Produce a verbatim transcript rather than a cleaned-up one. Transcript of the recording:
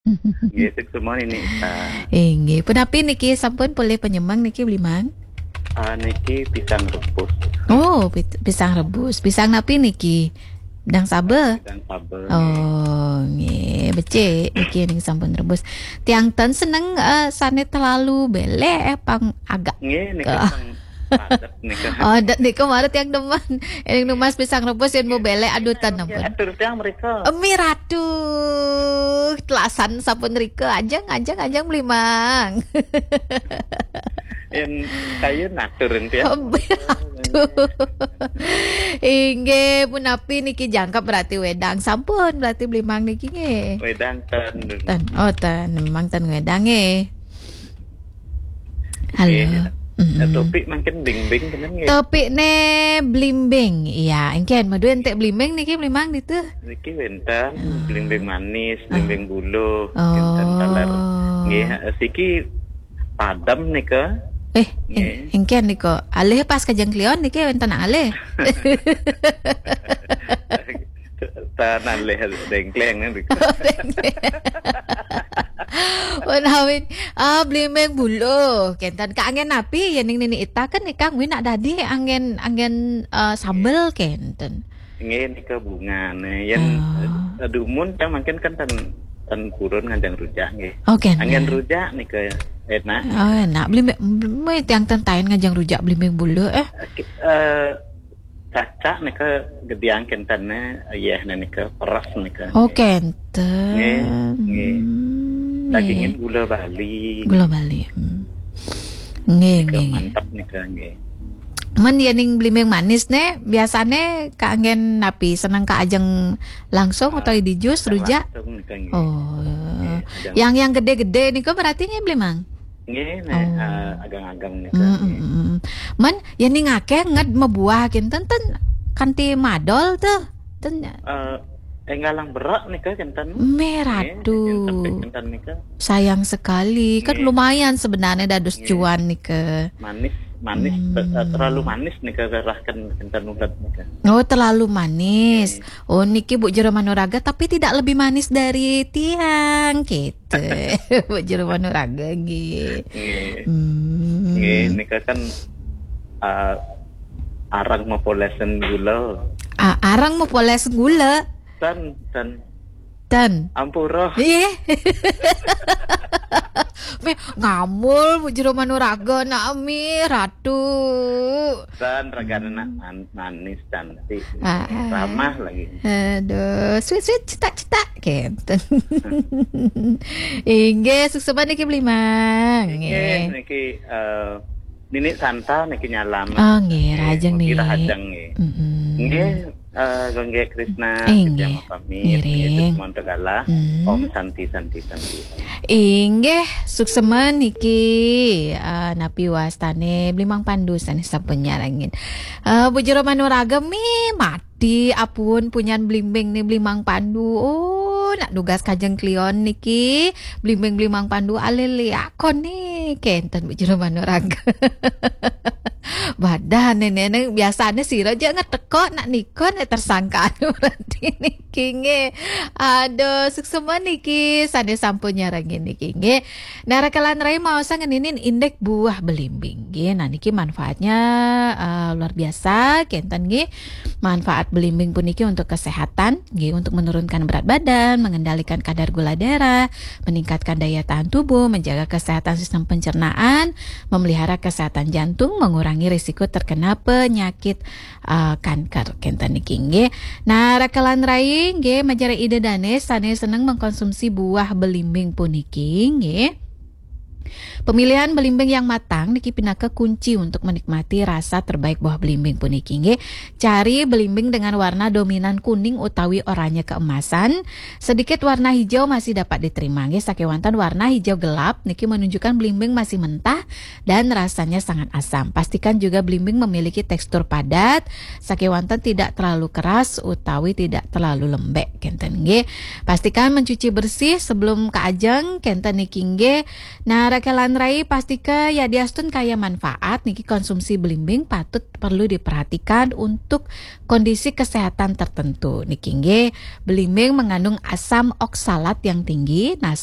Nggih, suksma niki. Ah. Inggih, punapi niki sampun polih panyemeng niki, Bli Mang? Ah, niki pisang rebus. Oh, pit-, pisang rebus. Pisang napi niki? Dang saba? Pisang saba, nggih. Oh, nggih, becik niki ning sampun rebus. Tiang ten seneng, eh, sane terlalu belek, eh, pang agak. Nggih, niki pang padet nika. Oh, dat nika mara tiang demen. Ning numbas pisang rebus yen mau belek, aduh, ten ampun. Atur tiang mereka. Emi ratu, telasan sampun rika, ajeng, ajeng, ajeng, Bli Mang. Yen kaya natur enti ya. Emi ratu. Inggih, punapi niki jangkep berarti wedang. Sampun berarti Bli Mang niki nggih. Wedang ten. Ten. Oh, ten. Memang ten wedang nggih. Halo. Nggih. Mm-mm. Eh, topik mungkin blimbing kenen nggih. Topik ne blimbing. Iya, engken madu entek blimbing niki, Bli Mang ditu. Niki wenten blimbing manis, blimbing buluh, wenten taler. Oh. Nggih, eh, siki padem nika. Eh, nggih. Eng-, engken nika. Alih pas Kajeng Kliwon niki wenten alih. Tan alih dengkleng nika. Menawi, ah, blimbing buluh. Kenten kaangen napi yen ning nini ita kan nika kuwi nak dadi angen, angen, eh, sambel kenten. Nggih, nika bungane. Yen, oh, eh, dumun kan mungkin kan ten, ten purun ngajeng rujak nggih. Oh, kenten. Angen rujak nika enak. Oh, enak. Blimbing, blimbing tiang ten taen ngajeng rujak blimbing buluh, eh. Oke, eh, cacak nika gediang kenten ne, yeh ne nika peres nika. Oh, kenten. Nggih, nggih. Hmm, dagingin nggih. Gula Bali. Gula Bali. Hmm. Nggih, nika nggih, nggih. Mantap nika nggih. Men yen ning blimbing manis ne, biasane kaanggen napi? Seneng kaajeng langsung utawi di jus, rujak? Langsung nika nggih. Oh. Nggih, ajeng. Yang, yang gede-gede nika berarti nggih, Bli Mang? Nggih, nek, oh, eh, agang-agang nika, mm, nggih. Mm, mm. Men yen ning akeh nget mabuah kinten ten kanthi madol tuh. Ten, eh, enggal lang berak nika kinten. Merah tuh. Nggih, kinten, kinten nika. Sayang sekali. Kan, nggih, lumayan sebenarnya dados, nggih, cuan nika. Manis, manis, hmm, te-, eh, terlalu manis nika, kerahkan kinten ulet nika. Oh, terlalu manis. Nggih. Oh, niki Bu Jero Manuraga, tapi tidak lebih manis dari tiang, gitu. Bu Jero Manuraga, nggih. Nggih. Hmm. Nggih, nika kan, ah, arang mapolesen gula. Ah, arang mapolesen gula? Ten, ten. Ten. Ampura. Iya. Meh, ngamul, Bu Jero Manuraga, nak mi, ratu. Ten, ragane nak man-, manis, cantik. Ah, ah. Ramah lagi. Aduh, sweet, sweet, cetak, cetak, gitu. Inggih, suksma niki Bli Mang. Inggih, nggih. Niki, eh, Nini Santa niki nyalam. Oh, nggih, nggih, rahajeng, mugi nggih. Rahajeng, nggih. Mm-mm. Nggih, eh, Gongge Krishna, eh, nggih. Pamit, ngiring. Nggih, semonto galah. Mm. Om Santi, Santi, Santi. Inggih, suksma niki, eh, napi wastane Bli Mang Pandu sane sampun nyarengin. Eh, Bu Jero Manuraga mi mat Di apun punyan blimbing ni Bli Mang Pandu. Oh, nak nugas Kajeng Kliwon niki. Blimbing Bli Mang Pandu alih liakon ni. Kenten Bu Jero Manuraga. Badan ni, ni, ni, biasane sira je ngeteko nak nikon, eh, tersangka anu berarti niki nggih. Aduh, suksma niki sane sampun nyarengin niki nggih. Nah, raka lan rai maosa ngeninin indik buah belimbing nggih. Nah, niki manfaatnya, eh, luar biasa kenten nggih. Manfaat belimbing puniki untuk kesehatan nggih, untuk menurunkan berat badan, mengendalikan kadar gula darah, meningkatkan daya tahan tubuh, menjaga kesehatan sistem pencernaan, memelihara kesehatan jantung, mengurangi risiko terkena penyakit, eh, kanker kenten niki nggih. Nah, raka lan rai nggih, majeng ida dane sane seneng mengkonsumsi buah belimbing puniki nggih. Pemilihan belimbing yang matang niki pinaka kunci untuk menikmati rasa terbaik buah belimbing puniki nggih. Cari belimbing dengan warna dominan kuning utawi oranye keemasan. Sedikit warna hijau masih dapat diterima nggih, sakewanten warna hijau gelap niki menunjukkan belimbing masih mentah dan rasanya sangat asam. Pastikan juga belimbing memiliki tekstur padat, sakewanten tidak terlalu keras utawi tidak terlalu lembek kenten nggih. Pastikan mencuci bersih sebelum kaajeng kenten niki nggih. Nah, Rakelan rai, pastika yadiastun kaya manfaat niki, konsumsi belimbing patut perlu diperhatikan untuk kondisi kesehatan tertentu. Niki nggih, belimbing mengandung asam oksalat yang tinggi, nah